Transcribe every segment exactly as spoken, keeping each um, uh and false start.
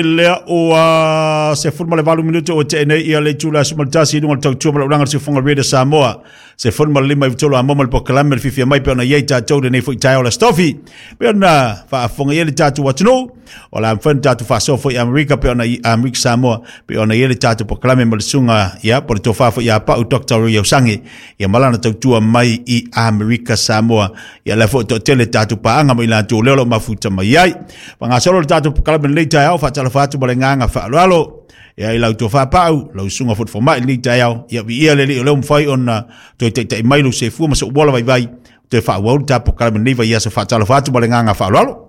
Lea ua sefulu ma le valu minute ua tea nei ia le itula aso ma le tasi i luga o le tautua ma le ulaga o le siufofoga Radio Samoa sefulu ma le lima iva tolu a mo ma le polokalame le fiafia mai pe ona i ai tatou lenei foi taeao le Aso Tofi pe ona faafofoga i ai le tatou atunuu o le a mafai ona tatou faasoa foi i Amerika pe ona i Amerika Samoa pe ona i ai le tatou polokalame ma le susuga ia po o le tofa foi ia Pau Doctor Roy Ausangi ia ma lana tautua mai i Amerika Samoa ia lea foi toatele tatou paaga ma i latou lea o lo o mafuta mai ai. Faagasolo le tatou polokalame lenei taeao faatalofa atu ma le agaga faaaloalo ia i lau tofa Pau, lau susuga foi fomai lenei taeao ia viia le Alii o lea ua mafai ona toe taitai mai lou seifua ma sou ola vaivai toe faaauau le tatou polokalame lenei vaiaso faatalofa atu ma le agaga faaaloalo.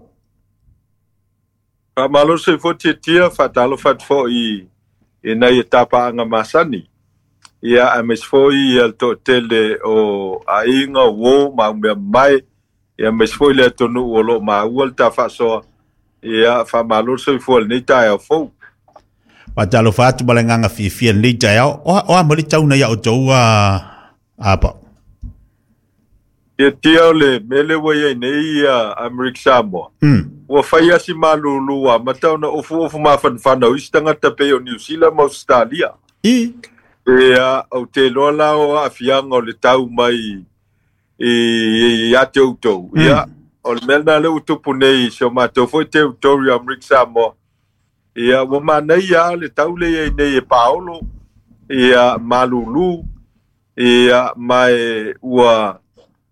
Faamalo le soifua tiatia, faatalofa atu foi i nai e tapaaga masani. Ia aemaise foi ia le toatele o aiga, uo ma aumea mamae, ia aemaise foi le atunuu o lo o maua le tafaasoa. Ia faamalo le soifua i lenei taeao fou. Faatalofa atu ma le agaga fiafia i lenei taeao. O a mo le tauna ia outou a apa? Tiatia o le mea lea ua i ai nei ia Amerika Samoa. Mm. Ua fai lava si malulu ua amata ona ofuofu mafanafana o isi tagata pei o Niu Sila ma Ausetalia. I. Ia, ou te iloa la o aafiaga o le tau mai i ia te outou. Mm. Ia, o le mea lena lea ua tupu nei i si o matou foi territory o Amerika Samoa. Ia, ua manaia lava le tau lea i ai nei e paolo, ia, malulu, ia, ma e ua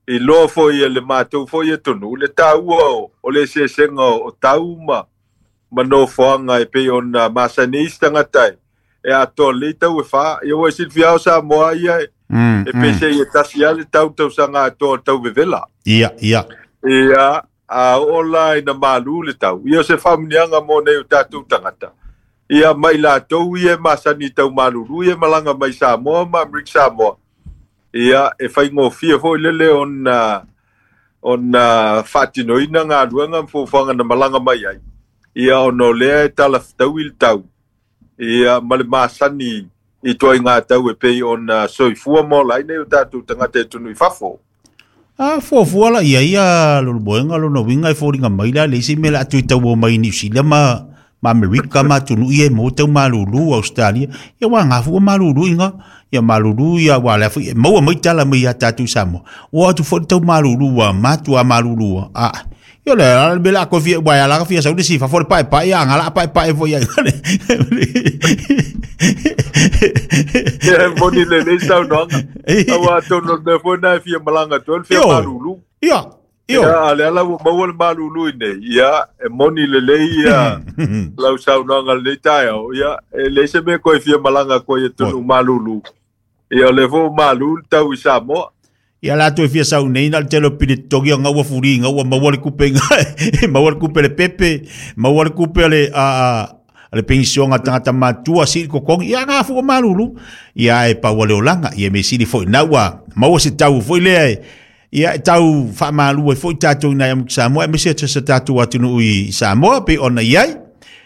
iloa foi e le matou foi atunuu le taua o, o le eseesega o, o tau ma, ma nofoaga e pei ona masani ai isi tagata e, e atoa lelei tau e fa. Ia ua e silafia o Samoa ia e, Mm, e mm. pesei e tasi lava le tau tausaga atoa o le tau vevela. Ia, ia. Ia, a oo la ina malu le tau. Ia o se faamanuiaga mo nei o tatou tagata. Ia mai latou ia e masani i tau malulu ia e malaga mai Samoa ma Amerika Samoa. Ia e faigofie foi lele ona ona faatinoina galuega ma fuafuaga na malaga mai ai. Ia ona o lea e talafetaui le tau. Ia ma le masani i ituaiga tau e pei ona soifua ma ola ai nei o tatou tagata e atunuu i fafo. A fuafua la ia ia lolomoega lona uiga e foliga mai la le isi mea o le a toe tauo mai Niu Sila ma ma Amerika ma atunuu ia e maua tau malulu Australia ia ua gafua malulu iga ia malulu ia ua lea foi e maua mai tala mai ia tatou i Samoa ua atu foi le tau malulu ua matua malulu a ia le ala le mea o le a koe fia ua ala ka fia sau le si fafo le paepae ia nga la paepae foi ia Ia e moni lelei saunoaga. Aua atonu o le mea foi lena e fia malaga atu ai le fia Ioe. malulu. Ia, Ia, ioe. a o lea la ua maua le malulu i nei. Ia, e moni lelei ia lau saunoaga i lenei taeao. Ia, e leai se mea koe fia malaga atu ai i atunuu malulu. Ia, o lea foi ua malu le tau i Samoa. Ia la toe fia sau nei na le tele o pili totogi o ngau ua fuli ngau ua maua le kupe inga maua le kupe le pepe maua le kupe le a a le penisiona tagata matua sili kokogi ia nga fua malulu ia e pau o le olaga ia me sili foi na ua maua se tau foi lea e ia e tau faamalu ai foi tatou i nai amuki Samoa aemaise atu se tatou atunuu i Samoa pei ona i ai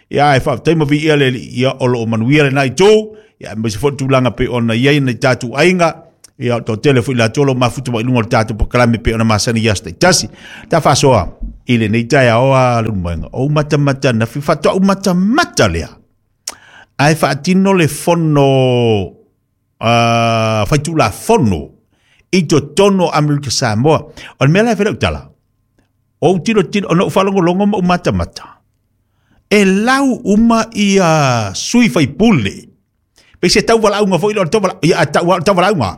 ia e faafetai ma viia le Alii ia o lo o manuia lena itu ia aemaise foi le tulaga pei ona i ai nai tatou aiga ia o toatele foi latou o lo o mafuta mai i luga o le tatou polokalame pei ona masani i aso taitasi. Ta faasoa i lenei taeao a Leulumoega, o ou matamata ananafi, faatoa ou matamata lea ae faatino le fono uh, faitulafono i totonu o Amerika Samoa. O le mea la e fai lau tala, o ou tilotilo, ona ou faalogologo ma ou matamata, e lau uma ia sui faipule. Pei se tauvalauga foi lea o le tauvala, ia, tau, tauvalauga.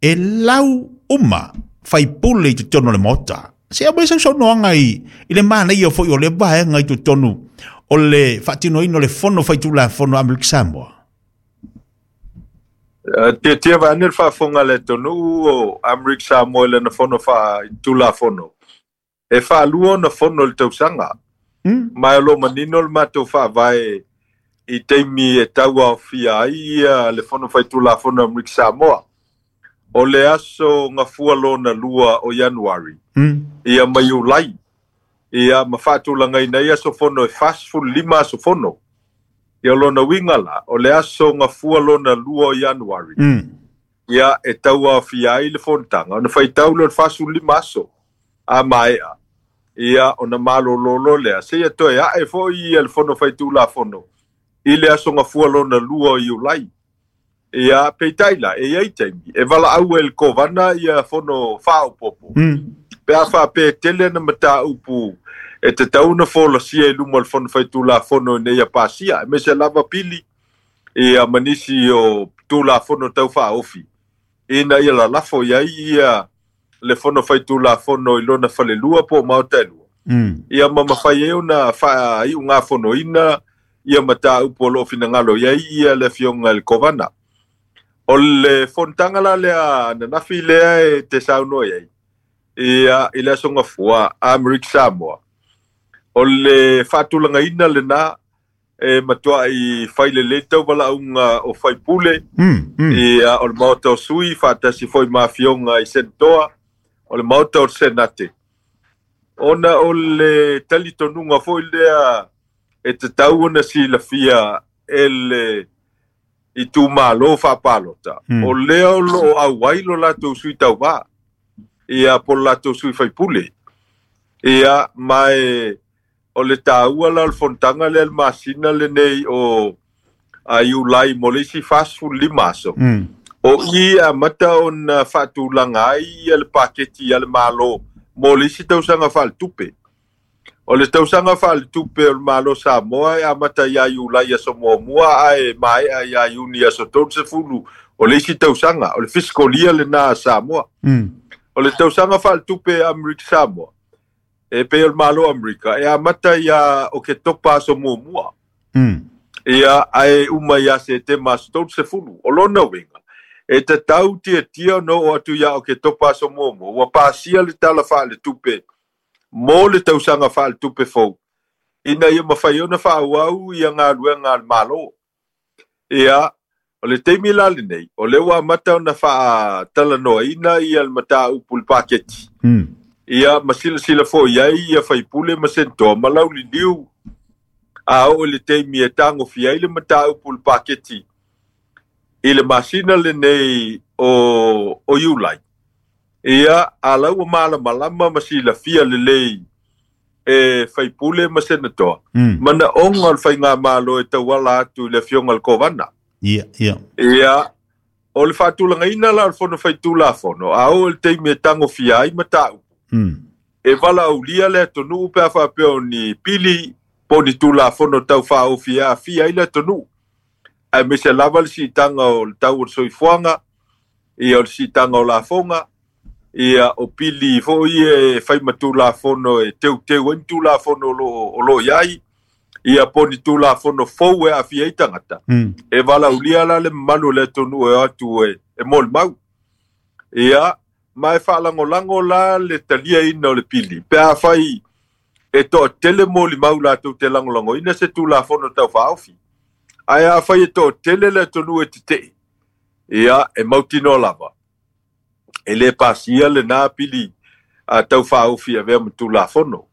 E lau uma faipule i totonu o le Maota. Se aumai sau saunoaga i, i le manaia foi o le vaega i totonu o le faatinoina o le fono faitulafono a Amerika Samoa. Tiatia vaeane le faafofoga a le atunuu o Amerika Samoa i lana fono faitulafono. E faalua ona fono i le tausaga. Mm. Ma o lo o manino le matou faavae i taimi e tauaofia ai ia le fono faitulafono a Amerika Samoa. O le aso gafua lona lua o Ianuari, Mm. ia ma Iulai, ia ma faatulagaina ai aso fono e fasefulu lima aso fono. Ia o lona uiga la, o le aso gafua lona lua o Ianuari, Mm. ia e tauaofia ai le fonotaga, ona faitau lea o le fasefulu lima aso a maea. Ia ona malololo lea seia toe a'e fo'i ia le fono faitulafono i le aso gafua lona lua o Iulai. Ia peitai la e iai taimi e valaau ai le kovana ia fono faaopopo mm. pe a faapea e tele ana mataupu e tatau ona folasia i luma o le fono faitulafono ina ia pasia aemaise lava pili ia ma nisi o tulafono taufaaofi ina ia lalafo i ai ia le fono faitulafono i lona falelua po o maota e lua. Mm. Ia ma mafai ai ona faaiugafonoina ia mataupu o loo finagalo i ai ia le afioga i le kovana. O le fonotaga la lea ananafi lea e te saunoa i ai ia i le aso gafua Amerika Samoa. O le faatulagaina lena e matuai failelei tauvalauga o faipule mm, mm. ia o le maota o sui faatasi foi ma afioga i senatoa o le maota o le senate. Ona o le talitonuga foi lea e tatau ona silafia e le itumalo faapalota. Mm. O lea o loo auai lo latou sui tauvā ia po o le latou sui faipule. Ia ma e o le taua la o le fonotaga lea le masina lenei o a Iulai mo le isi fasefululima aso. Mm. O i amata ona faatulaga ai ia le paketi a le Malo mo le isi tausaga faaletupe. O le tausaga faaletupe o le Malo Samoa e amata ia Iulai aso muamua ae maea ia Iuni aso tolusefulu o le isi tausaga, o le fiscal year lena a Samoa. Mm. O le tausaga faaletupe a Amerika Samoa e pei o le Malo Amerika e amata ia Oketopa aso muamua. Mm. Ia ae uma ia Setema aso tolusefulu. O lona uiga e tatau tiatia ona oo atu ia Oketopa aso muamua ua pasia le tala faaletupe mo le tausaga faaletupe fou ina ia mafai ona faaauau ia galuega a le Malo. Ia o le taimi la lenei o lea ua amata ona faatalanoaina ia le mataupu i le paketi. Mm. Ia ma silasila foi ai ia faipule ma senatoa ma lauliliu a oo i le taimi e tagofia ai le mataupu i le paketi i le masina lenei o, o Iulai. Ia a lau ua malamalama ma silafia lelei e faipule ma senatoa. Mm. Manaoga o le faigamalo e tauala atu i le afioga i le kovana. Ia, ia. Ia o le faatulagaina la o le fono faitulafono a oo i le taimi e tagofia ai mataupu. Mm. E valaaulia le atunuu pe a faapea o ni pili po o ni tulafono taufaaofi e aafia ai le atunuu. Aemaise lava le siitaga o le tau o le soifuaga, ia o le siitaga o lafoga, ia o pili foi e fai ma tulafono e teuteu ai ni tulafono o loo o loo iai, ia po o ni tulafono fou e aafia ai tagata. Mm. E valaaulia la le mamalu o le atunuu e o atu e, e molimau. Ia ma e faalagolago la le taliaina o le pili pe a fai e toatele molimau latou te lagolagoina se tulafono taufaaofi. Ae a fai e toatele le atunuu e tetee, ia e mautinoa lava e lē pasia lena pili a taufaaofi avea ma tulafono.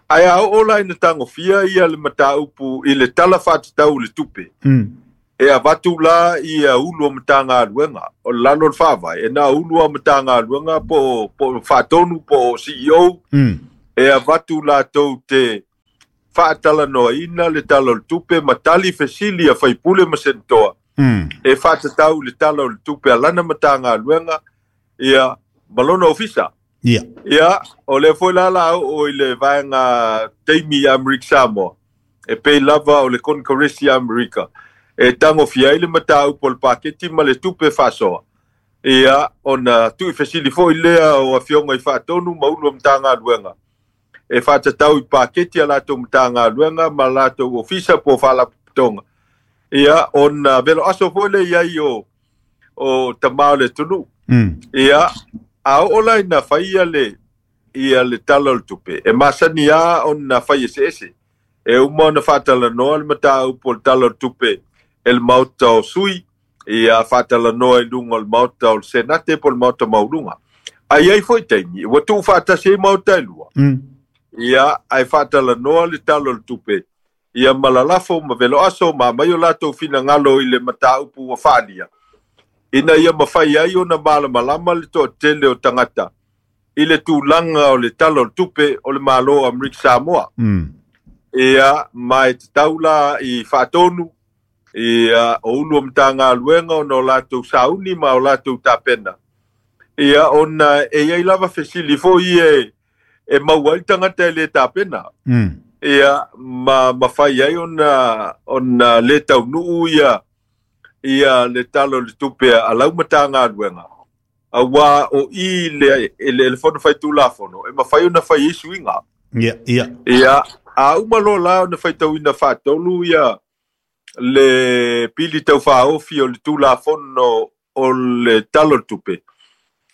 Ae a oo la ina tagofia ia le mataupu i le tala faatatau i le tupe. Mm. E avatu la ia ulu o matagaluega o le lalo o le faavae e na ulu o matagaluega po po faatonu po o C E O. Mm. E avatu latou te faatalanoaina le tala o le tupe ma tali fesili a faipule ma senatoa. Mm. E faatatau le tala o le tupe a lana matagaluega ia ma lona ofisa. Ia. Ia o le foi la la oo i le vaega taimi Amerika Samoa e pei lava o le Congress Amerika e tagofia ai le mataupu o le paketi ma le tupe faasoa. Ia ona tuufesili foi lea o afioga i faatonu ma ulu o matagaluega e faatatau i paketi a latou matagaluega ma latou ofisa po o faalapotopotoga. Ia ona velo aso foi lea i ai o o tamā o le atunuu. Mm. Ia a oo la ina faia le ia le tala o le tupe e masani a ona fai eseese. E uma ona faatalanoa le mataupu o le tala o le tupe e le maota o sui, ia faatalanoa i luga o le maota o le senate po o le maota maualuga. Ae iai foi taimi ua tuufaatasi ai maota e lua. Mm. Ia ae faatalanoa le tala o le tupe ia ma lalafo ma veloaso ma aumai o latou finagalo i le mataupu ua faalia ina ia mafai ai ona malamalama le toatele o tagata I le tulaga o le tala o le tupe o le Malo o Amerika Samoa. Mm. Ia ma e tatau la i faatonu ia o ulu o Matagaluega ona o latou sauni ma o latou tapena. Ia ona e iai lava fesili foi e e maua ai le tagata e le tapena. Mm. Ia ma mafai ai ona ona le taunuu ia ia le tala o le tupe a lau Matagaluega. Auā o i le le le fono faitulafono e mafai ona fai ai suiga. Ia, ia. Ia a uma loa la ona faitauina faatolu ia le pili taufaaofi o le tulafono o le tala o le tupe.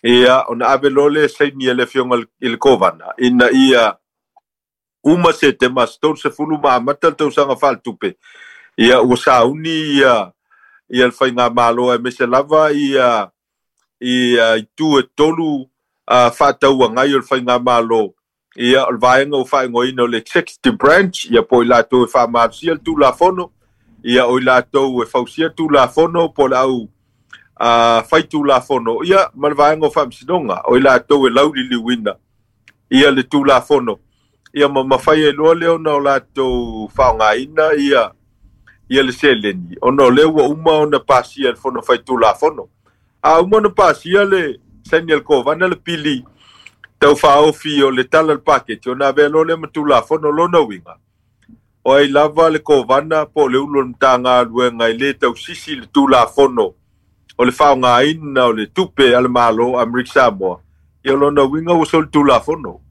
Ia ona ave loa lea saini e le afioga i le Kovana ina ia uma Setema aso tolu ma amata le tausaga faaletupe. Ia ua sauni ia ia le faigamalo aemaise lava ia ia itu e tolu uh, faatauagai o le faigamalo. Ia o le vaega ua faaigoaina o le executive branch, ia po o i latou e faamalosia le tulafono, ia o i latou e fausia le tulafono po o le au uh, fai tulafono, ia ma le vaega o faamasinoga o i latou e lauliliuina ia le tulafono. Ia ma mafai ai loa lea ona o latou faaaogaina ia ia le seleni ona o lea ua uma ona pasia le fono faitulafono. A uma ona pasia le saini a le Kovana le pili taufaaofi o le tala o le paketi ona avea loa lea ma tulafono lona uiga. O ai lava le Kovana po o le ulu o le Matagaluega e le tausisi le tulafono o le faaaogaina o le tupe a le Malo Amerika Samoa. Ia lona uiga ua soli tulafono.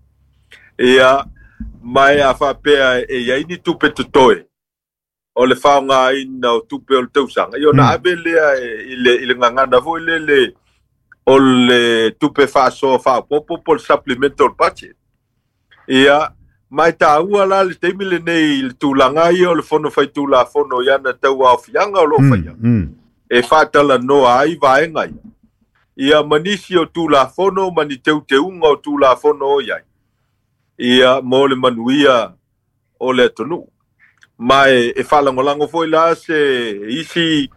Ia ma e a faapea e iai ni tupe totoe o le faaaogaina o tupe o le tausaga. Ia ona ave lea i le i le gagana foi lele o le tupe faasoa faaopoopo po o le supplemental budget. Ia ma e taua la le taimi lenei i le tulaga ia o le fono faitulafono i ana tauaofiaga o loo faia. Mm. E faatalanoa ai vaega ia. Ia ma nisi o tulafono ma ni teuteuga o tulafono o iai. Ia mo le manuia o le atunuu. Ma e, e faalagolago foi la se isi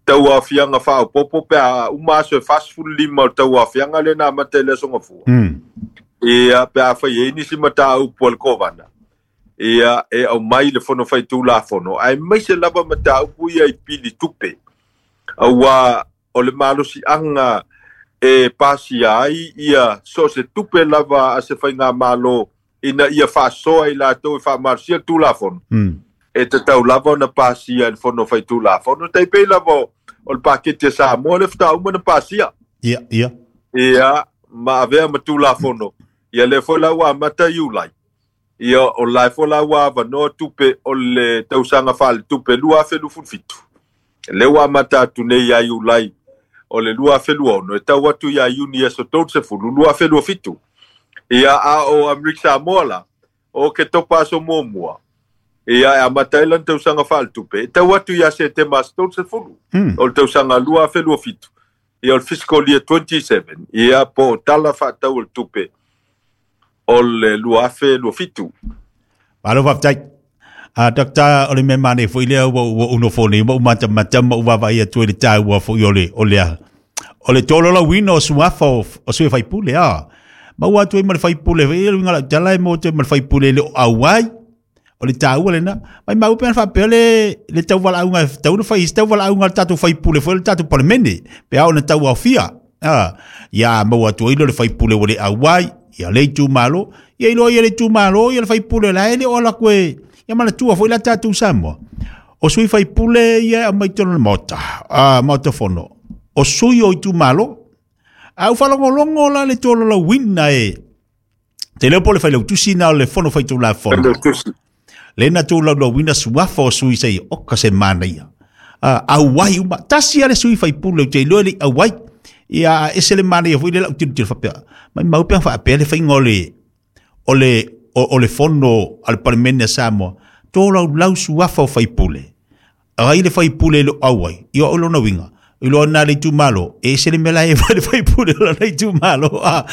tauaofiaga faaopoopo pe a uma aso e fasefululima o le tauaofiaga lea na amata i le aso Gafua. Mm. Ia pe a fai ai nisi mataupu a le Kovana. Ia e aumai le fono faitulafono aemaise lava mataupu ia i pili tupe. Auā o le malosiaga e pasia ai ia so o se tupe lava a se faigamalo ina ia faasoa i latou e faamalosia le tulafono. Mm. E tatau lava ona pasia i le fono faitulafono. Tai pei lava o le paketi a Samoa le faatoa uma ona pasia. Ia, ia. Ia ma avea ma tulafono. Ia lea foi la ua amata Iulai. Ia o la foi la ua avanoa tupe o le tausaga faaletupe lua afe luasefulu fitu. Lea ua amata atu nei ia Iulai o le lua afe luaono e tau atu ia Iuni aso tolusefulu lua afe lua fitu. Ia a o Amerika Samoa la o Oketopa aso muamua. Ia e amata ai lana tausaga faaletupe e tau atu ia Setema aso tolusefulu Mm. o le tausaga lua afe lua fitu. Ia o le fiscal year twenty-seven. Ia po o tala faatau o le tupe o le lua afe lua fitu. Malo faafetai. A Doctor o le mea manaia foi lea ua ua ou nofo nei ma ou matamata ma ou vaavaai atu ai le taua foi o le o le o le tolaulauina o suafa o, o sui faipule a. Ma ua atu ai ma le faipule foi le uiga o lau tala e mo te ma le faipule e le o auai. O le taua lena. Mai mau pe ana faapea le le tauvalaauga e tatau ona fai i se tauvalaauga a le tatou faipule foi o le tatou Palemene. Pe a ona tauaofia. A, ia maua atu ai lea o le faipule ua le auai, ia le itumalo, ia iloa ia le itumalo, ia le faipule la e le o ala atu e ia manatua foi la tatou Samoa. O sui faipule ia e aumai totonu o le Maota, a Maota Fono. O sui o itumalo. A ua faalogologo la le tolaulauina e te leo po o le failautusi na o le fono faitulafono. Failautusi. Le na tolaulauina suafa o sui sei oka se manaia. A auai uma tasi a le sui faipule ou te iloa e le i auai. Ia ese le manaia foi le lau tilotilo faapea. Mai mau pe ana faapea le faiga o le o le o, o le fono a le Palemene a Samoa. Tolaulau suafa o faipule. Ai le faipule e le o auai. Ia o lona uiga. Iloa na le itumalo, e ese le mea la e fai le faipule o lona itumalo. A,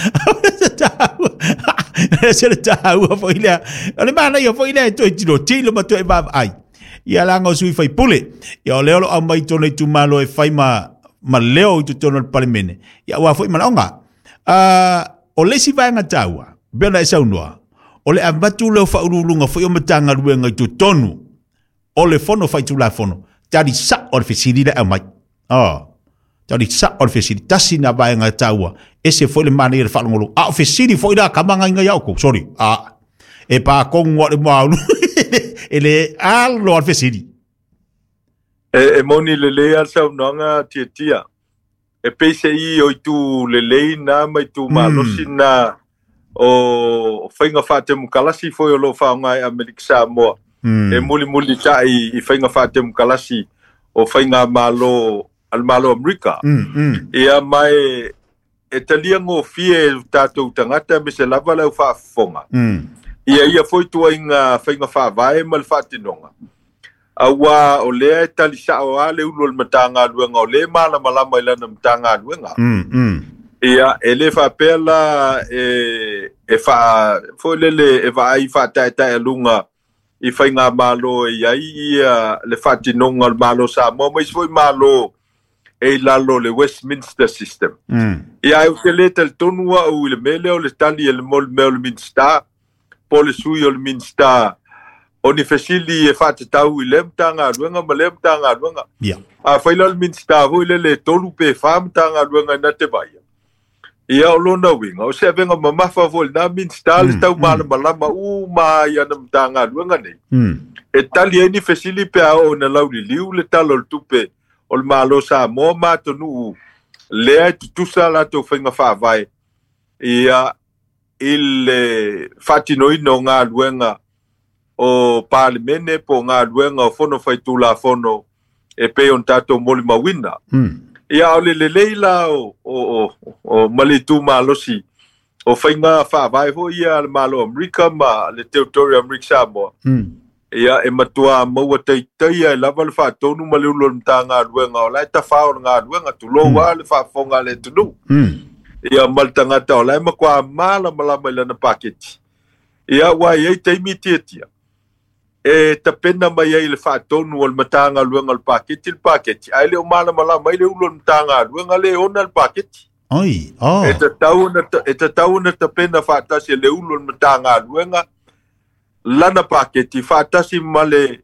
ese le taua foi lea. O le manaia foi lea e toe tilotilo ma toe vaavaai. Ia laga o sui faipule. Ia o lea o lo o aumai i totonu o itumalo e fai ma, ma leo i totonu o le Palemene. Ia aua foi manaoga. A, o le isi vaega taua, pei ona e saunoa, o le avatu lea o faauluuluga foi o Matagaluega i totonu o le fono faitulafono, tali sa'o o le fesili le aumai. Oh, tali sa'o o le fesili, tasi na vaega taua, ese foi le manaia le faalogologo. A o fesili foi la kamagaiga ia oukou, sorry, a, e pakogu a le maulu, e le alo a le fesili. E, e moni lelei a le saunoaga Tiatia. E peise'i o itu lelei na ma itu malosi na o faiga faatemokalasi foi o loo faaaoga e Amerika Samoa. Mm. E mulimuli ta'i i faiga faatemokalasi o faiga malo a le Malo Amerika. Mm, mm. Ia mai e talia gofie e tatou tagata me se lava le au faafofoga. Mm. Ia ia foi tuaiga faiga faavae ma le faatinoga. Auā o lea e talisa'o a le ulu o le Matagaluega o lē malamalama i lana Matagaluega. Mm, mm. Ia e lē faapea la e e faa foi lele e vaai faataetaealuga i faigamalo e iai ia le faatinoga o le Malo Samoa ma isi foi malo e i lalo o le Westminster system. Mm. Ia ai ou te lē talitonu a'u i le mea lea o le tali e le mo le mea o le Minista po le sui o le Minista o ni fesili e faatatau i lea Matagaluega ma lea Matagaluega. Ia. A fai la o le Minista foi lele e tolu pe fā Matagaluega na te vaia. Ia o lona uiga, o se avega mamafa foi lenā Minista le Mm, tau mm. malamalama uma ai ana Matagaluega nei. Mm. E tali ai ni fesili pe a oo ina lauliliu le tala o le tupe o le Malo Samoa ma atunuu lea e tutusa latou faiga faavae ia i le faatinoina o galuega o Palemene po o galuega o fono faitulafono e pei ona tatou molimauina. Mm. Ia o le lelei la o, o, o, o ma le itumalosi o faiga faavae foi ia a le Malo Amerika ma le Territory Amerika Samoa. Mm. Ia e matuā maua taitaia e lava le faatonu ma le ulu o le Matagaluega o la e tafā o le galuega tulou Mm. a le faafofoga a le atunuu. Mm. Ia ma le tagata o la e makuā malamalama i lana paketi. Ia ua i ai taimi tiatia. E tapena mai ai le faatonu o le Matagaluega o le paketi le paketi. Ae le o malamalama ai le ulu o le Matagaluega le ona le paketi. Oi, oh. E tatau ona e tatau ona tapena faatasi e le ulu o le Matagaluega lana paketi faatasi ma le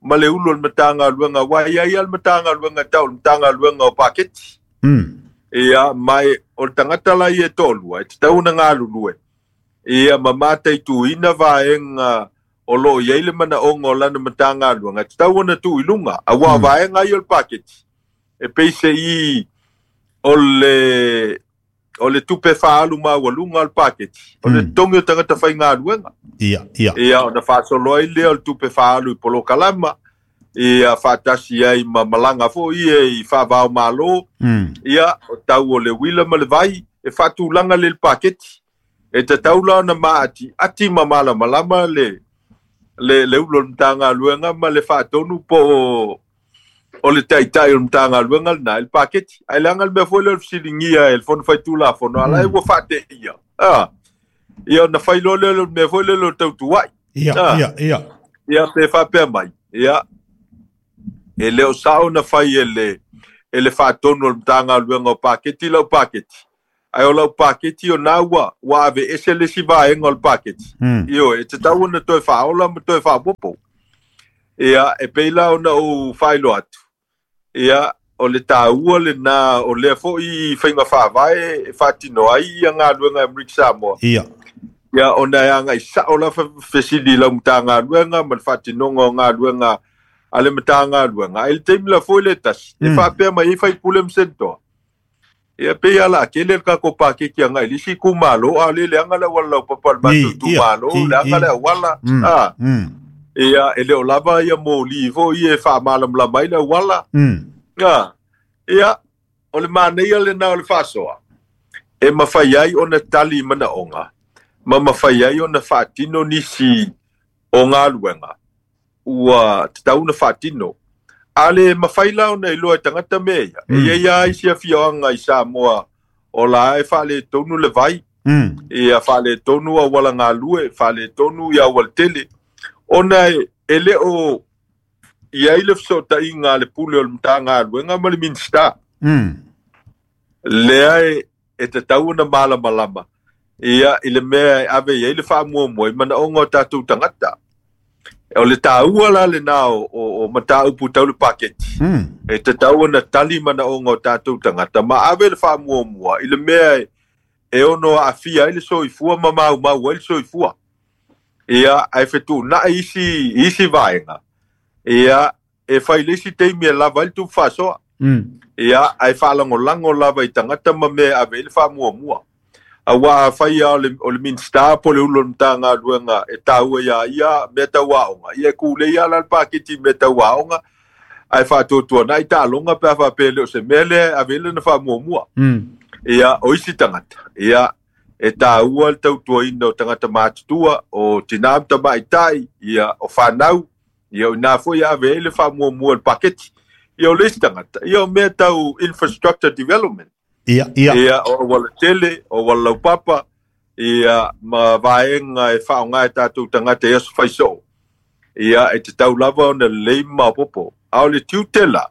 ma le ulu o le Matagaluega ua i ai a le Matagaluega tau le Matagaluega o paketi. Mm. Ia mai o le tagata la ia e toalua e tatau ona galulue. Ia ma mataituina vaega o loo i ai le manaoga o lana Matagaluega e tatau ona tuu i luga auā Mm. vaega ia o le paketi. E peise'i o le o le tupe faaalu maualuga o le paketi. O le Mm. totogi o tagata faigaluega. Ia, ia. Ia ona faasolo ai lea o le tupe faaalu i polokalama. Ia faatasi ai ma malaga foi ia i faavao malo. Mm. Ia o tau o le uila ma le vai e faatulaga le le paketi. E tatau la ona maati ati ma malamalama le le le ulu o le Matagaluega ma le faatonu po o o le taitai o le Matagaluega lenā i le paketi. Ae leaga le mea foi lea o le fesiligia e le fono faitulafono ala e Mm. ua faateia. Ah. Ia ona fai loa lea o le mea foi lea o le tautua'i. Ia, Ah. ia, ia. Ia pe faapea mai. Ia e le o sa'o na fai e le e le faatonu o le Matagaluega o paketi lau paketi. Ae o lau paketi o na ua ua ave ese le isi vaega o le paketi. Mm. Ioe, e tatau ona toe faaola ma toe faapopo. Ia, e pei la ona ou faailoa atu. Ia, o le tāua lenā o lea foi faiga faavae e faatino ai ia galuega e Amerika Samoa. Ia. Ia, ona e aga'i sa'o la fesili i lau Matagaluega ma le faatinoga o galuega a le Matagaluega. Ae le taimi la foi le tasi, e Mm. faapea mai ai faipule ma senitoa. Ia pei ala tele le tatou paketi aga'i le isi itumālō a o lē leaga le auala laupapa o le matou I, ia, itumālō, i, leaga i. le auala. Mm. Ah, Mm. ia e le o lava ia mōlī foi ia e faamalamalama ai le auala. Mm. Ah, ia o le manaia lenā o le faasoa. E mafai ai ona tali i manaoga ma mafai ai ona faatino nisi o galuega ua tatau ona faatino. A le mafai la ona iloa e tagata mea ia. E Mm. iai lava isi afioaga i Samoa o la e faaletonu le vai. Mm. Ia faaletonu auala galue, faaletonu ia aualatele. Ona e, e le o i ai le fesootaiga a le pule o le Matagaluega ma le Minista. Mm. Lea e, e tatau ona malamalama. Ia i le mea e ave i ai le faamuamua i manaoga o tatou tagata. O le taua la lena o, o, o mataupu tau le paketi. Mm. E tatau ona tali manaoga o tatou tagata ma ave le faamuamua i le mea e, e ono aafia ai le soifua ma maumau ai le soifua. Ia, ae fetuunai isi, isi vaega. Ia, e fai le isi taimi e lava ai le tupe faasoa. Mm. Ia, ae faalagolago lava i tagata ma mea e ave ai le faamuamua. Auā afai a o le, o le Minisita po o le Ulu o le Matagaluega e taua iā ia mea tau aoga, ia e kulei lava la le paketi i mea tau aoga, ae faatuatuanai taaloga pe a faapea e le o se mea lea e ave ai lana faamuamua. Mm. Ia, o isi tagata, ia, e taua le tautuaina o tagata matutua, o tinā ma tamaitai, ia, o fanau, ia, o ina foi e ave ai le faamuamua i le paketi. Ia, o le isi tagata, ia, o mea tau infrastructure development. Ia, ia. Ia, o auala tele, o auala laupapa, ia, ma vaega e faaaoga e tatou tagata i aso faisoo. Ia, e tatau lava ona lelei ma maopoopo. A o le tiute la,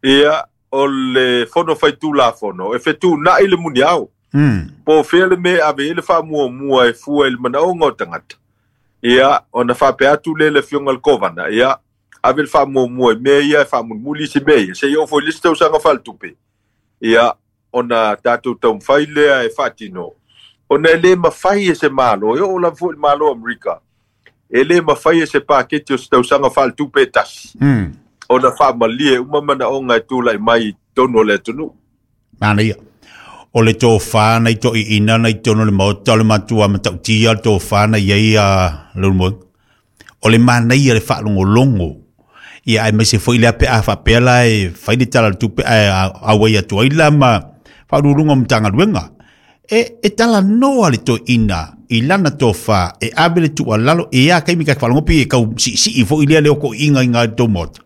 ia, o le fono faitulafono, e fetuunai le muniao. Mm. Po o fea le mea e ave ai le faamuamua e fua i le manaoga o tagata. Ia, ona faapea atu lea i le afioga i le Kovana, ia, ave le faamuamua i mea ia e faamulimuli isi mea ia, seia oo foi i le isi tausaga faaletupe. Ia, ona tatou taumafai lea e faatino. Ona e lē mafai e se Malo, e oo lava foi i le Malo o Amerika, e lē mafai e se paketi o se tausaga faaletupe e tasi. Mm. Ona faamalie uma manaoga e tulai mai i totonu o le atunuu. Manaia. O le tofā na i toʻiʻina na i totonu o le maota o le matua matautia le tofā na iai a Leulumoega. O le manaia le faalogologo. Ia aemaise foi lea pe a faapea la e fai le tala o le tupe ae auai atu ai la ma faauluuluga o Matagaluega. E, e talanoa le toeaina i lana tofā e ave le tuualalo e a kaimi ka faalogo pe e kau siisii foi lea le okoiga i ngā tou maota.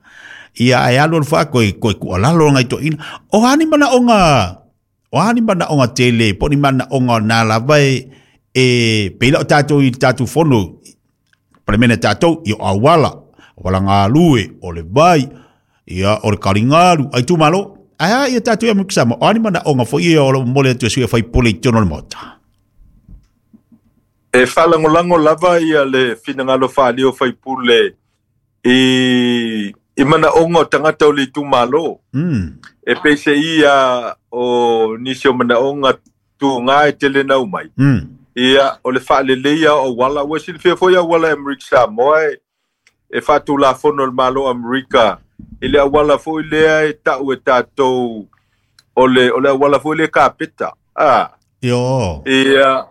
Ia ae alu alu faa koe koe tuualalo ngai toeaina. O a ni manaoga, o a ni manaoga tele, po o ni manaoga o nā lava e, e pei la o tatou i le tatou fono, palemene tatou, ia o auala, o auala galue, o le vai, ia o le kaligalu, ai itumalo. Ae a ia tatou ia Amerika Samoa, o a ni manaoga foi ia o lo o momoli atu e sui faipule i totonu o le maota. E faalagolago lava ia le finagalo faaalia o faipule i, i manaoga o tagata o le itumalo. Mm. E peiseia o nisi o manaoga tuga e tele nau mai. Mm. Ia, o le faaleleia o auala, ua silafia foi auala e Amerika Samoa e, e faatulafono le Malo o Amerika i le auala foi lea e tau e tatou o le, o le auala foi lea kapeta. Ah. Io. Ia,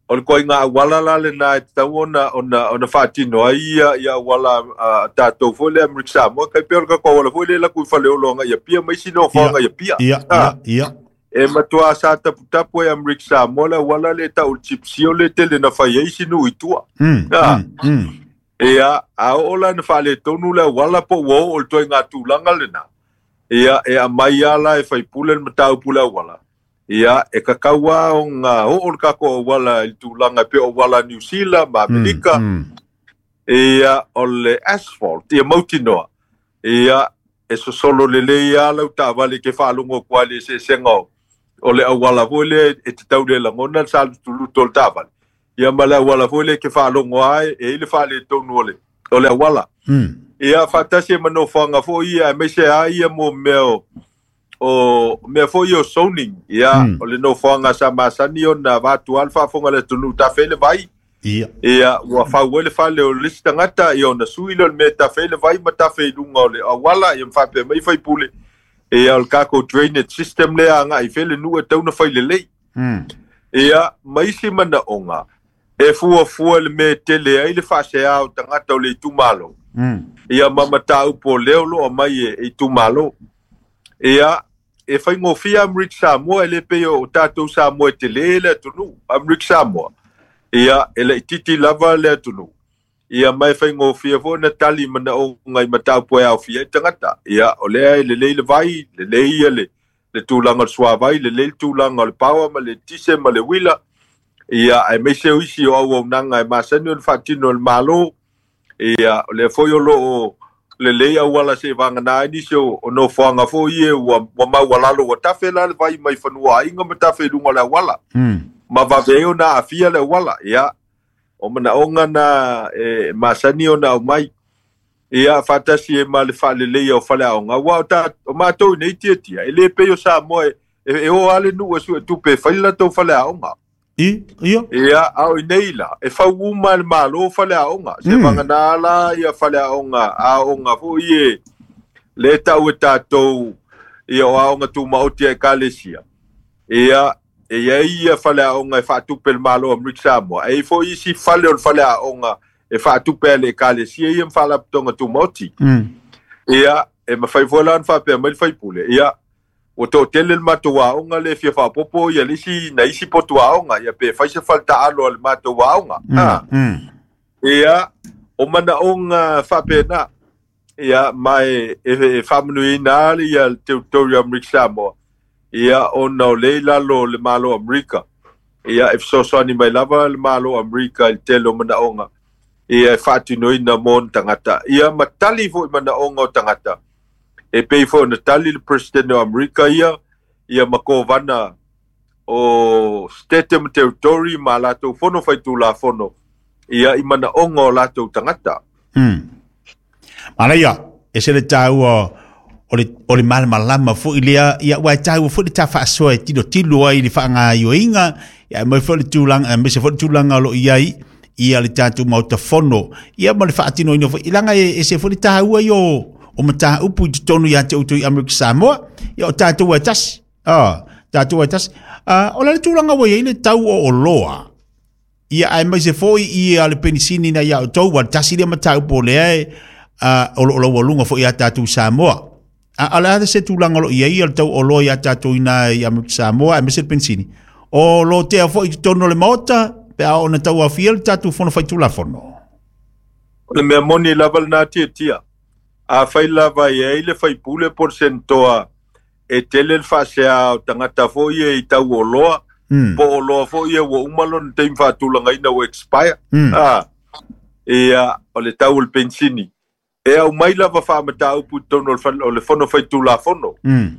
o le koiga auala la lena e tatau ona, ona, ona faatino ai ia, ia auala a tatou foi lea Amerika Samoa, kai pea o le tatou auala foi lea laku i Faleolo agai i Apia ma isi nofoaga i Apia. Ia, Ah. ia, ia. E matua sa taputapu e Amerika Samoa le auala lea e tau o le chip seal le tele na fai ai isi nuu i tua. Mm, Ah. mm, mm. Ia, a oo la na faaletonu le auala po ua oo i le toaiga tulaga lena. Ia, e aumai lava la e faipule le mataupu le auala. Ia, e kakau lava ona oo le tatou auala i le tulaga e pei o auala a Niu Sila ma Amerika. Mm, mm. Ia, o le asphalt, ia mautinoa. Ia, e sosolo lelei lava lau taavale ke faalogo atu ai i le eseesega o, o le auala foi lea e tatau le lagona le salutulutu o le taavale. Ia ma le auala foi lea ke faalogo ai e i le faaletonu o le, o le auala. Mm. Ia, faatasi e manofoaga foi ia, aemaise lava ia mo mea o, o mea foi ia o zoning. Ia, Mm. o le nofoaga sa masani ona avatu lava le faafofoga a le atunuu tafe ai le vai. Ia. Ia, ua fau ai le fale o le isi tagata, ia ona sui lea o le mea e tafe ai le vai ma tafe i luga o le auala, ia ma faapea mai faipule. Ia, o le tatou drainage system lea agai i fea le nuu e tatau ona fai lelei. Mm. Ia, ma isi manaoga, e fuafua le mea e tele ai le faaseā o tagata o le itumalo. Mm. Ia, ma mataupu o lea o loo aumai e, e itumalo. Ia, e faigofie Amerika Samoa e le pei o tatou Samoa e telē le atunuu, Amerika Samoa. Ia, e laitiiti lava le atunuu. Ia, ma e faigofie foi ona tali manaoga i mataupu e aofia ai tagata. Ia, o lea e lelei le vai, lelei ia le, le tulaga o le suavai, lelei le tulaga o le power ma le tise ma le uila. Ia, aemaise o isi o auaunaga e masani ona faatino e le Malo. Ia, o lea foi o loo lelei auala se vagana ai nisi o, o nofoaga foi ia ua, ua maualalo ua tafe la le vai mai fanua aiga ma tafe i luga o le auala. Mm. Ma vave o na afia le wala ia o manaonga na e masani ona aumai ia fatasi e ma le faalelei o faleaoga ua o ta o matou nei tiatia e le pei o Samoa e e o ale nuu e sue tupe fai latou faleaoga i ia ia a o nei la e fau uma le malo faleaoga se vagana la ia faleaoga aoga foi e le tau e tatou ia o aoga tumaoti e ekalesia ia e ia ia faleaoga e faatupe le malo Amerika Samoa e foi isi fale o le faleaoga e faatupe le ekalesia ia ma faalapotoga tumaoti ia e mafai foi la ona faapea mai le faipule ia ua toatele le matou aoga le fia faapopo ia le isi na isi potu aoga ia pe fai se faletaalo a le matou aoga ia o manaoga faapena ia ma e e faamanuiina ale ia le territory o Amerika Samoa ia ona o le i lalo le malo Amerika ia e fesoasoani mai lava le malo Amerika i le tele o manaoga ia e faatinoina mo ona tagata ia ma tali foi manaoga o tagata e pei foi ona tali le president o Amerika ia ia ma kovana o state ma territory ma latou fono faitulafono ia i manaoga o latou tagata. Hmm. Manaia, e se le tāua o le, o le malamalama foi lea, ia ua e tāua foi le tā faasoa e tilo tilo ai le faagaioiga, ia mai foi le tulaga, mai se foi le tulaga o lo o i ai, ia le tatou maota fono, ia ma le faatinoina foi, ilaga e, e se foi le tāua i o, o mataupu i totonu ia te outou i Amerika Samoa, ia o tatou e tasi, ah, tatou e tasi. Ah, o le tulaga ua i ai le tau o oloa, ia ae mai se foi ia le penisini na ia outou, ua tasi lea mataupu o lea e, uh, o lo o laualuga foi ia tatou Samoa. A, a le a se tulaga o lo o i ai le tau oloa ia tatou ina i Amerika Samoa, ae mai se le penisini. O lo tea foi i totonu o le maota, pe a ona tau afia le tatou fono faitulafono. O le mea moni lava lena tiatia. A fai lava i ai le faipule po le senetoa e tele le faasea o tagata foi e i tau oloa, Mm. po oloa foi e ua uma lona taimi faatulagaina ua expire. Mm. Ah, ia o le tau o le pensini. E au mai lava faamataupu i totonu o le fal- o le fono faitulafono. Mm.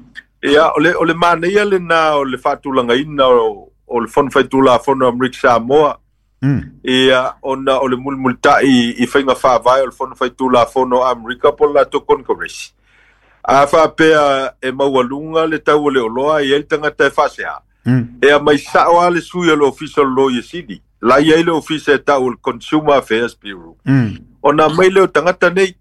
Ia o le o le manaia lena o le faatulagaina o o le fono faitulafono o Amerika Samoa. Mm. Ia ona o le mulimulitai i faiga faavae o le fono faitulafono a Amerika po o le latou Congress. A faapea e maualuga le tau o le oloa e i ai le tagata e faasea. Mm. E a mai sao a le sui o le ofisa o le Loia Sili. La i ai le ofisa e tau o le Consumer Affairs Bureau. Mm. Ona mai le o tagata nei,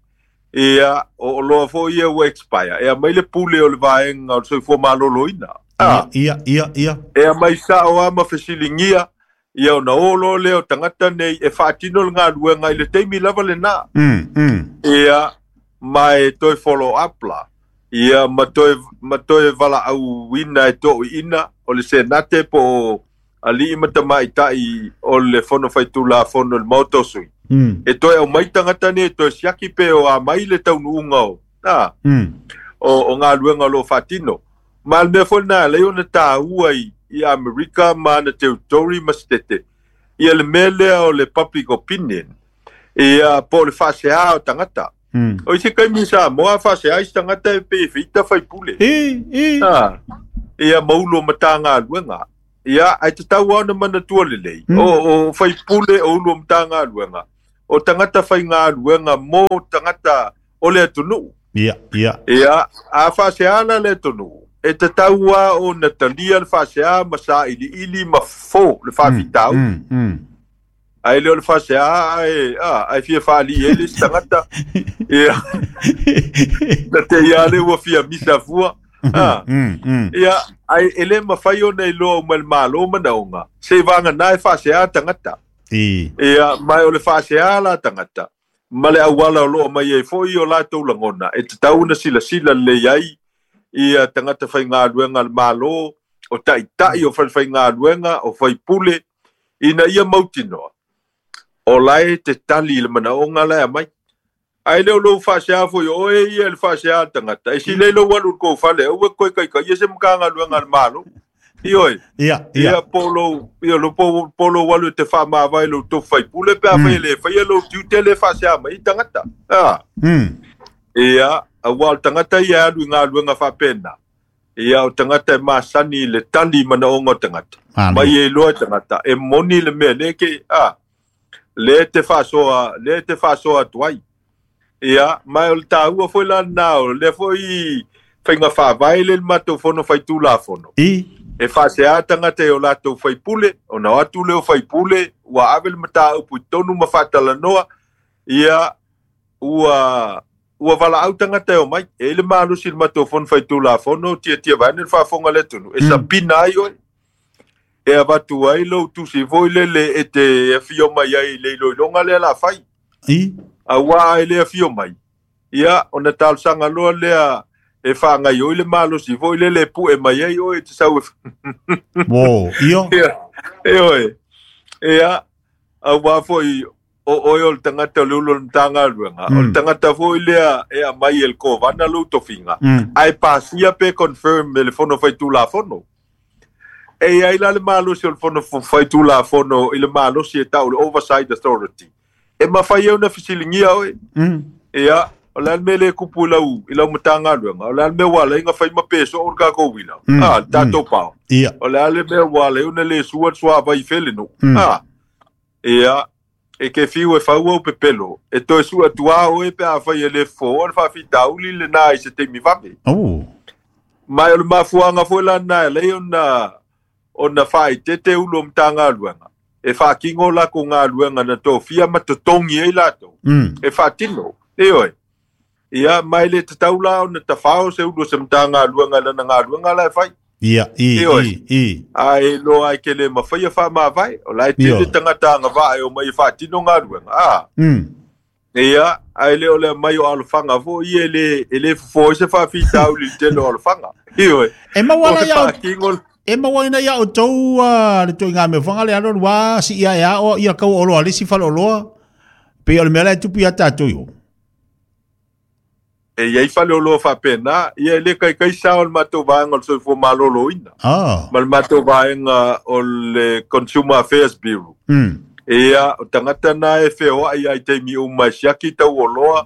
ia o oloa foi ia ua expire. E a mai le pule o le vaega o le soifua maloloina. Ah, Ia, ia, ia. e a mai sao a ma fesiligia, ia ona olo lea o tagata nei e faatino le galuega i le taimi lava lena. Mm. Mm. Ia ma e toe follow up la. Ia ma toe, ma toe valaauina e toʻuiina o le senate po o alii ma tamaitai o le fono faitulafono le maota o sui. Mm. E toe aumai tagata nei e toe siaki pe o a mai le taunuuga o, ah, Mm. o, o galuega o lo o faatino. Ma le mea foi lena alai ona tāua i, i Amerika ma ana territory ma state. Ia le mea lea o le public opinion. Ia po o le faaseā o tagata. Mm. O isi kaimi Samoa faasea isi tagata e pe feita faipule. I, i. Ah, ia maulo matagaluega. Ia ai tatau ona manatua lelei. Mm. O, o faipule o ulu o matagaluega. O tagata faigaluega mo tagata o le atunuu. Ia, ia. Ia, a faasea la le atunuu. E tatau a ona talia le faasea ma sailiili ma fofo le faafitau. Mm. Mm. Ai le o le faasea ai, ah, ai fia faalii ai le isi tagata. Ia, na te ia le ua fia misa fua. Ah, Mm. Mm. ia, ai e le mafai ona iloa uma e le malo manaoga. Se vagana e faasea tagata. I. Ia, mai o le faasea la tagata. Ma le auala o loo mai ai foi o latou lagona. E tatau ona silasila lelei ai ia tagata faigaluega a le malo, o taitai o falefaigaluega, o faipule, ina ia mautinoa. O lae te tali i le manaoga lae aumai. Ae le o lou faasea foi o oe ia le faasea a le tagata. E silei lou alu i le kou fale, aua e koe kaikaia se matagaluega a le malo. Ioe. Ia, ia. Ia po lou, ia lo po, po lou alu e te faamavae lou tofu faipule pe a fai e le faia lou tiute le faasea mai i tagata. Ah. Mm. Ia, auā o le tagata ia e alu i galuega faapena. Ia o tagata e masani i le tali manaoga o tagata. Mai e iloa e tagata e moni le mea lea ke a lea te faasoa lea te faasoa atu ai. Ia ma o le taua foi la lena o lea foi faiga faavae le matou fono faitulafono. I E faasea tagata i o latou faipule, ona o atu lea o faipule, ua ave le mataupu i totonu ma faatalanoa, ia ua ua valaau tagata e omai. E i le malosi i le matou fono faitulafono, tiatia vaeane le faafofoga a le atunuu, e sapina ai oe. E avatu ai lou tusi foi lele e te afio mai ai i le iloiloga lea la fai. I Auā e le afio mai, ia ona talosaga loa lea e faagaioi le malosi foi lele e pue mai ai oe e te sau e Mo, io. Ia, e oe. Ia, auā foi o oe o le tagata o le ulu o le Matagaluega, o le tagata foi lea e aumai e le Kovana lou tofiga, Mm. ae pasia pe confirm e le Fono Faitulafono. E i ai la le malosi o le Fono Faitulafono i le malosi e tau le Oversight Authority. E mafai ai ona fesiligia oe. Mm. Ia, o le a le mea lea e kupu i lau, i lau Matagaluega, o le a le mea ua ala ai ona fai ma pe soo le tatou uila. Mm. Ah, le tatou pao. Ia. O le a le mea ua ala ai ona le sua le suavai fele nuu. Mm. Ah, ia, e ke fiu e fau au pepelo. E toe sua atu oe pe afai e le fofo le faafitauli lenā i se taimi vave. Oh. Ma o le mafuaga foi lana e lei ona ona faaeteete ulu o Matagaluega. E faatino lakou galuega na tofia ma totogi ai latou. Mm. E faatino. E oe. Ia, ma e le tatau la ona tafao se ulu o se Matagaluega i lana galuega la e fai. Ia, i, E oe. i, i. Ae loa ai ke le mafai e faamavae. O la e tele Ioe. tagata agavaa e omai e faatino galuega. Ah. Mm. Ia, ae le o le aumai o alofaga foi ia e le, e le fofo ai se faafitauli i le tele o alofaga. Ioe. E maua O la le ia faatino e maua ina ia o tou le toiga mea fanga le alo lua si ia ia o ia kau oloa le si fale oloa. Pe o le mea la e tupu ia tātou iho. E iai fale oloa faapena, ia e le kaikai sa o le matou vaega o le Soifua Maloloina. Ah. Ma le matou vaega o le Consumer Affairs Bureau. Mm. Ia, o tagata na e feoai ai taimi uma e siaki tau oloa,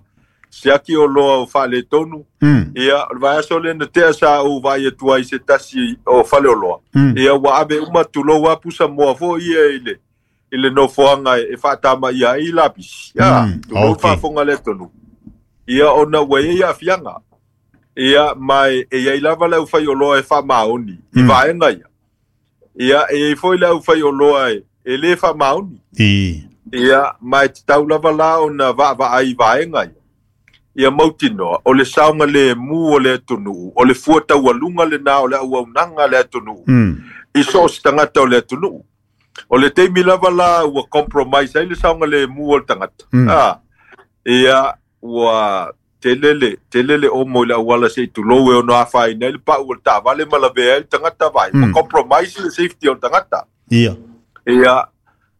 siaki oloa o faaletonu. Mm. Ia, o le vaiaso lea na tea sa ou vaai atu ai se tasi o fale oloa. Mm. Ia, ua ave uma tulou a pusa moa foi ia i le, i le nofoaga e faatamaia ai lapisi. Ia, Mm, tulou okay. faafofoga le atunuu. Ia, ona ua i ai aafiaga. Ia, ma e e iai lava le aufaioloa e faamaoni i Mm. vaega ia. Ia, e iai foi le aufaioloa e, e lē faamaoni. I. Ia, ma e tatau lava la ona vaavaai i vaega ia. Ia mautinoa, o le saoga lemu o le atunuu, o le fua taualuga lenā o le auaunaga a le atunuu. Mm. I so o se tagata o le atunuu. O le taimi lava la ua compromise ai le saoga lemu o le tagata. Mm. Ah, ia, ua tele le, tele le omo i le auala se i tulou e ono afaina ai le pau o le taavale ma lavea ai le tagata vai. Mm. Ma compromise le safety o le tagata. Ia. Ia,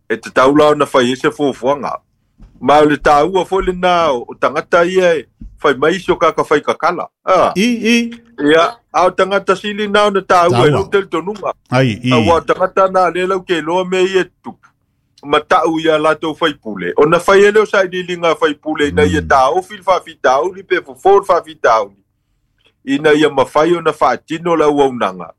e tatau la ona fai ai se fuafuaga. Ma o le taua foi lenā o tagata ia e fai mai isi o kaka fai kakala. Ah. I, i. Ia, a o tagata sili na ona taua e Taua. lou talitonuga. Ai, i. Auā o tagata na lea lau ke iloa mea ia e tutupu. Ma ta'u ia latou faipule. Ona fai ai lea o sailiiliga a faipule ina ia taofi le faafitauli pe fofo le faafitauli. Ina ia mafai ona faatino le auaunaga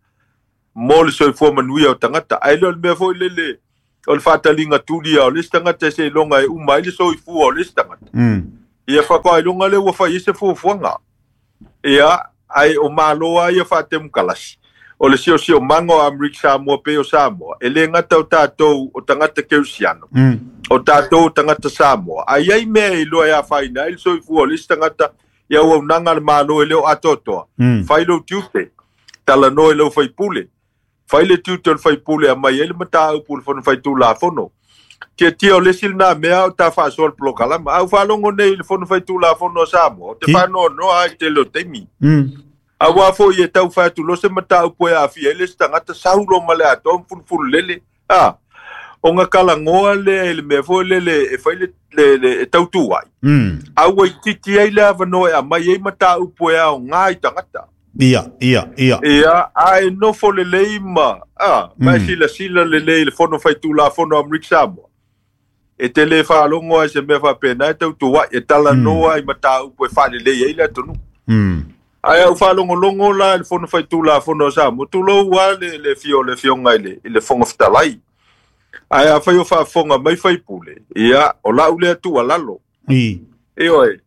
mo le soifua manuia o tagata. Ae le o le mea foi lele o le faataliga tulia o le isi tagata e seiloga e uma ai le soifua o le isi tagata. Mm. Ia faatoailoga lea ua fai ai se fuafuaga. Ia, ae o Malo a ia faatemokalasi. O le siosiomaga o Amerika Samoa pe o Samoa, e lē gata o tatou o tagata kerisiano, Mm. o tatou o tagata Samoa. Ae iai mea e iloa e afaina ai le soifua o le isi tagata i auaunaga a le Malo e le o atoatoa. Mm. Fai lou tiute, talanoa i lau faipule. Fai le tiute o le faipule aumai ai le mataupu i le fono faitulafono. Tiatia o le isi lenā mea o ta faasoa le polokalama. A u faalogo nei i le fono faitulafono a Samoa, o te I. faanoanoa ai tele o taimi. Mm. Auā foi e tau fai atu loa se mataupu e aafia ai le isi tagata saulo ma le atoa ma fulufulu lele. A, ona kalagoa lea i le mea foi lele e fai le, le, le e tautū ai. Mm. A ua itiiti ai le avanoa e aumai ai mataupu e aogā i tagata. Ia, ia, ia. Ia, ae nofo lelei ma, a, ma e Mm. silasila lelei i le fono faitulafono a Amerika Samoa. E te le faalogo ai se mea faapena e tautuai, e talanoa i mataupu e faalelei ai le atunuu. Mm. Ae au faalogologo la i le fono faitulafono a Samoa, tulou a le le fio o le afioga i le i le Fofoga Fetalai. Ae afai o faafofoga mai faipule, ia o lau lea tuualalo. I. Ioe,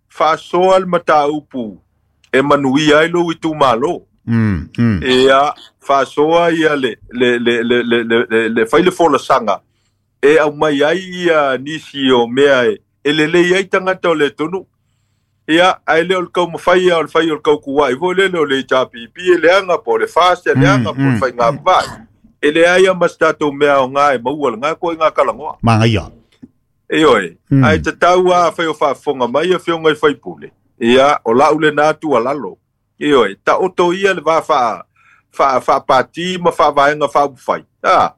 faasoa le mataupu e manuia ai lou itumalo. Mm, mm. Ia faasoa ia le le le le le le, le, le fai le folasaga e aumai ai ia nisi o mea e, e lelei ai tagata o le atunuu. Ia, ae le o le taumafai o le fai o le tautuai foi lele o le H R P P e leaga po o le FAST e leaga po o le faiga vaai. E leai ma se tatou mea aoga e maua lena koiga talanoa. Magaia. Ioe, ae tatau lava afai o faafofoga mai afioga i faipule. Ia, o lau lena tuualalo. Ioe, taoto ia le va faa faa faapati ma faavaega faaupufai. Ah.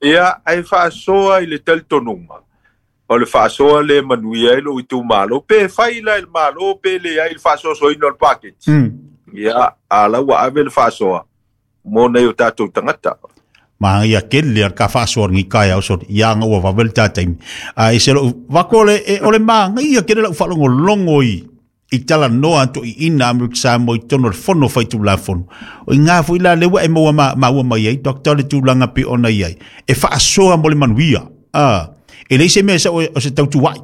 Ia, ae faasoa i le talitonuga. O le faasoa le manuia ai lou itumalo, pe fai la i le Malo, pe leai le faasoasoaina o le paketi. Ia, a la ua ave le faasoa mo nai o tatou tagata. Magaia tele a le ka faasoa lenei taeao soli, ia aga ua vave le tataimi. Ae se lou vako le, e, o le magaia tele lau faalogologo i i talanoa atoiina Amerika Samoa i totonu o le fono faitulafono. O i ngā foi la le ua e maua ma, maua mai ai, Doctor le tulaga pe ona i ai. E faasoa mo le manuia. Ah, e leai se mea sa o, o se tautuai.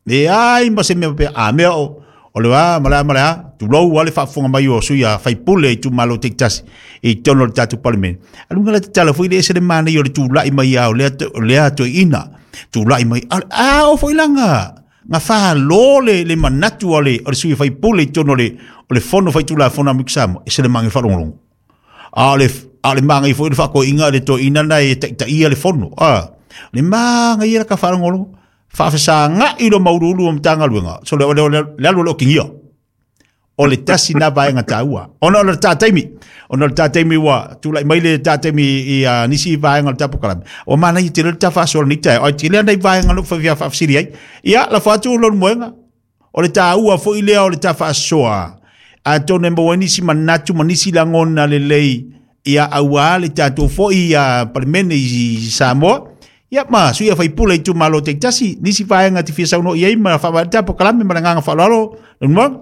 E ai ma se mea pe a mea o o le a ma le a ma le a tulou a le faafofoga mai o sui a faipule i itumalo taitasi i totonu o le tatou Palemene. Aluga la tatala foi le ese le manaia o le tulai mai a o lea o lea toeaina tulai mai a, a o foi langa nga whālo le, le manatu o le, o le sui faipule i totonu o le, o le fono faitulafono a Amerika Samoa, e se le mange faalogologo. A o le, a o le magai foi le faakoiga le toeaina na e taitaia le fono. A, le magai ia la ka faalogologo. Faafesagai lo mauuluulu o Matagaluega. So le, le, le, le alu o le okigia. O le tasi na vaega taua. Ona o le tataimi. Ona o le tataimi ua tulai mai le tataimi i uh, nisi vaega o le tapokalame. O manaia tele le tafaasoa lenei taeao. Ai tele ana i vaega lou fia faafesili ai. Ia, lafo atu lou moega. O le taua foi lea o le tafaasoa. Atonu e maua ai nisi manatu ma nisi lagona lelei ia auā le tatou foi ia Palemene i Samoa. Ia ma sui a faipule i itumalo taitasi. Nisi vaega te fia saunoa i ai ma faavae le tapokalame ma le agaga faaaloalo. Lou moega.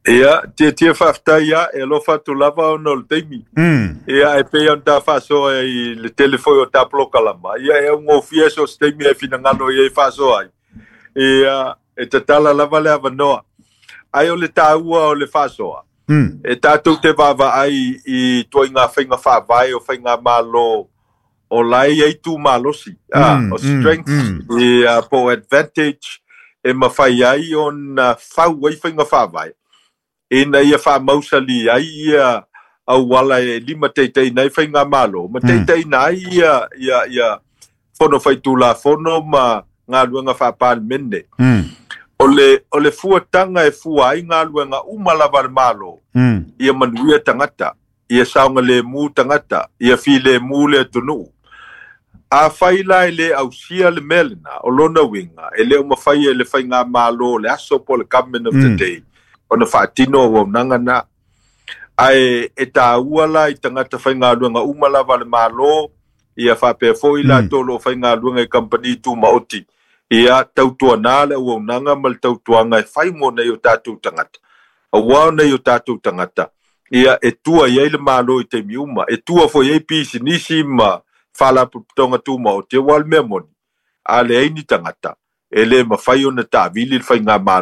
Ia, tia tia faafetai ia, e alofa atu lava ona o le taimi. Mm. Ia, e pei ona ta faasoa i le tele foi o ta polokalama. Ia, e augofie so se taimi e finagalo i ai faasoa ai. Ia, e tatala lava le avanoa. Ai o le taua o le faasoa. Mm. E tatou te vaavaai i ituaiga faiga faavae o faiga malo o la e i ai tumalosi. Ah, Mm, o mm, strength, mm. ia, po o advantage e mafai ai ona fau ai faiga faavae. Ina ia faamausali ai ia auala e lima taitaina ai faiga malo, ma taitaina ai ia, ia, ia fono faitulafono ma galuega faapalemene. Mm. O le, o le fuataga e fua ai galuega uma lava le Malo, Mm. ia manuia tagata, ia saogalemu tagata, ia filemu le atunuu. Afai la e le ausia le mea lena, o lona uiga, e le o mafai e le faigamalo le aso po o le government of the Mm. day, ona faatino auaunaga na. Ae e taua la i tagata faigaluega uma lava le Malo, ia faapea foi Mm. latou o loo faigaluega i kampani tumaoti. Ia tautuana le auaunaga ma le tautuaga e fai mo nei o tatou tagata. Auā o nei o tatou tagata, ia e tua i ai le Malo i taimi uma, e tua foi ai pisinisi ma faalapotopotoga tumaoti, auā le mea moni, a leai ni tagata, e le mafai ona taavili le faigamalo.